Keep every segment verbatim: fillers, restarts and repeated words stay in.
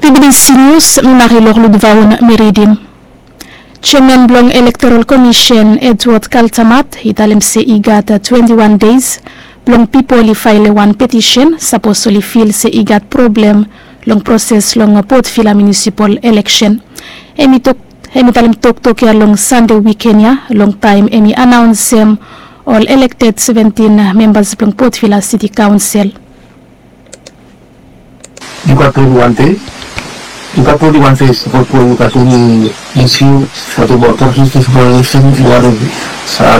Tibidisi nius mi mari lorluk vaun mi ridim. Jeaman blong elektoral komisen Edward Kaltamat i talem se i gat twenti wan deis blong pipol i faele wan petisen sapos oli fil se i gat problem long proses long potvila munisipal eleksen. Hem i talem toktok ya long sande wiken ya long taem hem i anaonsem ol elekted seventin membas blong potvila siti kaonsel. Yu gat twenti wan dei. Yu gat twenti wan dei sapos we yu gat eni isu, gat about process explanation, yu wan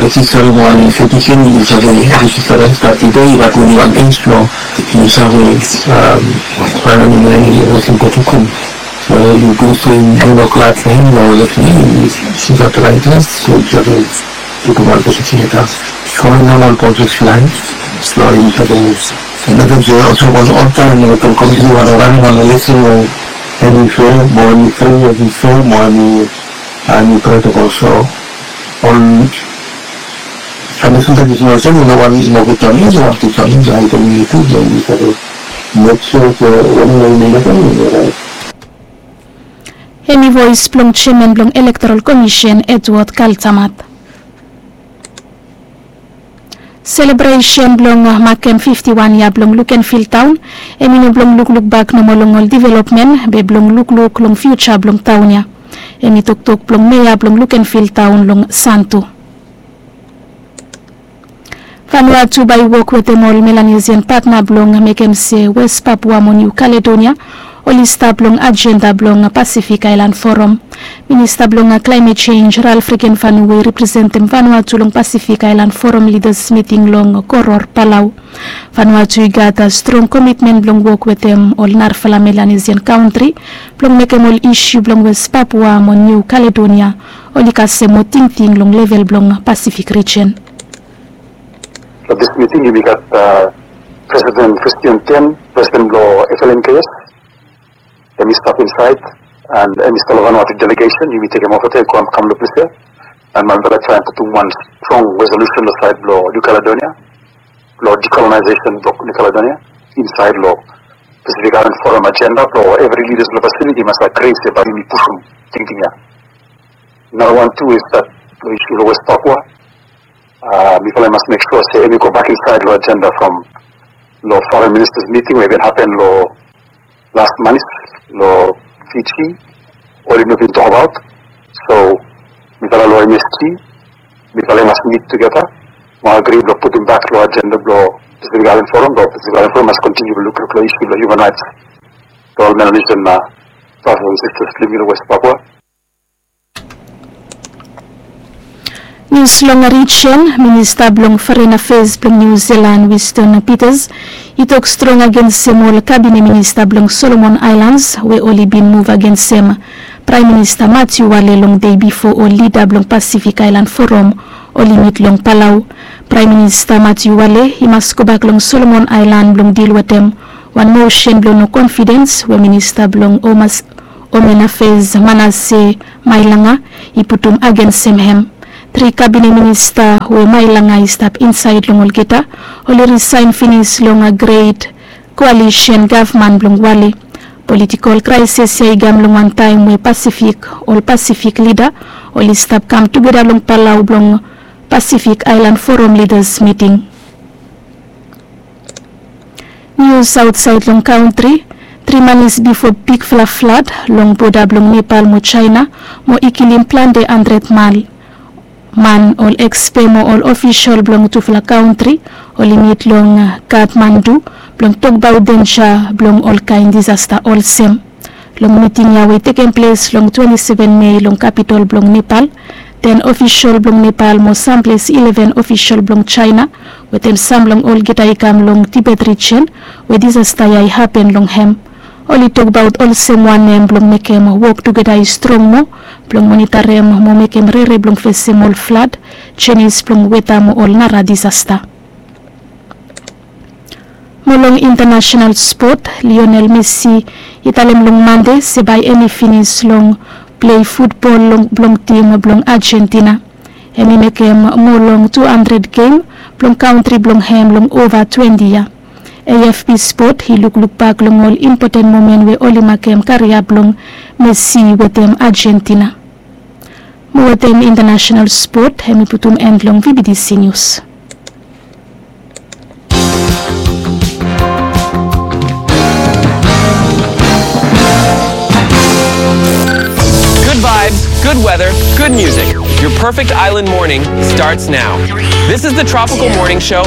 rejista mo wan petition, yu save rejista start tede. Yu gat twenti wan dei blong yu save faenali eni resen petition. So yu go through yu no glad for him, no resen, yu gat right, so yu save putum wan petition ya. So yu no wan process line, so yu save Another day also was on time, and the committee was running on the list, and we fail, more we fail, we fail, more we, and we try to also on. And this is the reason why I said, you know, one more good time, you know, one good time, I can make sure that when we make it, we make it. Hem i voes blong jeaman blong elektoral komisen Edward Kaltamat. Selebresen blong makem fifti wan yia blong Lukenvil taon hem i no blong lukluk bak nomo long ol developmen be blong lukluk long fiuja blong taon ya. Hem i toktok blong mea blong Lukenvil taon long Santo. Vanuatu bae i wok wetem ol Melanesian patna blong mekem se West Papua mo Niu Kaledonia oli stap long ajenda blong Pasifik Aelan Foram. Minista blong klaemet jenj Ralph Regenvanu we i representem Vanuatu long Pasifik Aelan Foram lidas miting long Koror, Palau. Vanuatu i gat strong komitmen blong wok wetem ol narafala Melanesian kantri blong mekem ol isu blong West Papua mo Niu Kaledonia oli kasem moa tingting long level blong Pasifik rijen. Long dis miting yumi gat Presiden Christian Ten, Presiden blong F L N K S, hem i stap insaed, and hem i stap long Vanuatu delegesen, yumi tekem ova tu, kam long ples ya. And mifala traem putum wan strong resolusen long saed blong Niu Kaledonia, blong dekolonaises blong Niu Kaledonia insaed long Pasifik Aelan Foram ajenda blong evri lidas blong Pasifik i mas agri se bae yumi putum tingting ya. Narawan tu i stap long isu long West Papua. Mifala i mas mek sua se hem i gobak insaed long ajenda from long Foren Ministas miting we i bin hapen long las manis long Fiji, oli no bin tokbaot. So mifala long M S G, mifala i mas mit tugeta mo agri blong putum bak long ajenda blong Pasifik Aelan Foram, blong Pasifik Aelan Foram mas kontiniu blong lukluk long isu blong hiuman raets blong ol Melanesian bratas and sistas blong yumi long West Papua. Nius long rijen, Minista blong Foren Afeas blong Niu Silan, Winston Peters, i tok strong agensem ol kabine minista blong Solomon Aelans we oli bin muv agensem Praem Minista Matiu Wale long dei bifo ol lida blong Pasifik Aelan Foram oli mit long Palau. Praem Minista Matiu Wale i mas gobak long Solomon Aelan blong dil wetem wan mosen blong no konfidens we minista blong Home Afeas Manase Mailanga i putum agensem hem. Tri kabine minista we Mailanga i stap insaed long olgeta oli risaen finis long gret koalisen gavman blong Wale. Politikol kraesis ya i kam long wan taem we Pasifik, ol Pasifik lida oli stap kam tugeta long Palau blong Pasifik Aelan Foram lidas miting. Nius aotsaed long kantri, tri manis bifo bigfala flad long boda blong Nepal mo Jaena mo i kilim plante handred man. Man, ol ekspat mo ol ofisol blong tufala kantri oli mit long Kathmandu blong tokbaot denja blong olkaen disasta olsem. Long miting ya we i tekem ples long twenti seven Mei long kapitol blong Nepal, ten ofisol blong Nepal mo samples ileven ofisol blong Jaena wetem sam long olgeta i kam long Tibet rijen we disasta ya i hapen long hem. Oli tokbaot olsem wanem blong mekem wok tugeta i strong moa blong monitarem mo mekem rere blong fesem ol flad, jenis blong weta mo ol nara disasta. Mo long intanasenal spot, Lionel Messi i talem long Mande se bae hem i finis long plei futbol blong tim blong Ajentina. Hem i mekem moa long tu handred gem blong kantri blong hem long ova twenti yia. A F P Sport i lukluk bak long ol impoten momen we oli makem karia blong Messi wetem Argentina. Mo wetem international sport, hemi putum en long V B T C News. Good vibes, good weather, good music. Your perfect island morning starts now. This is the Tropical Morning Show.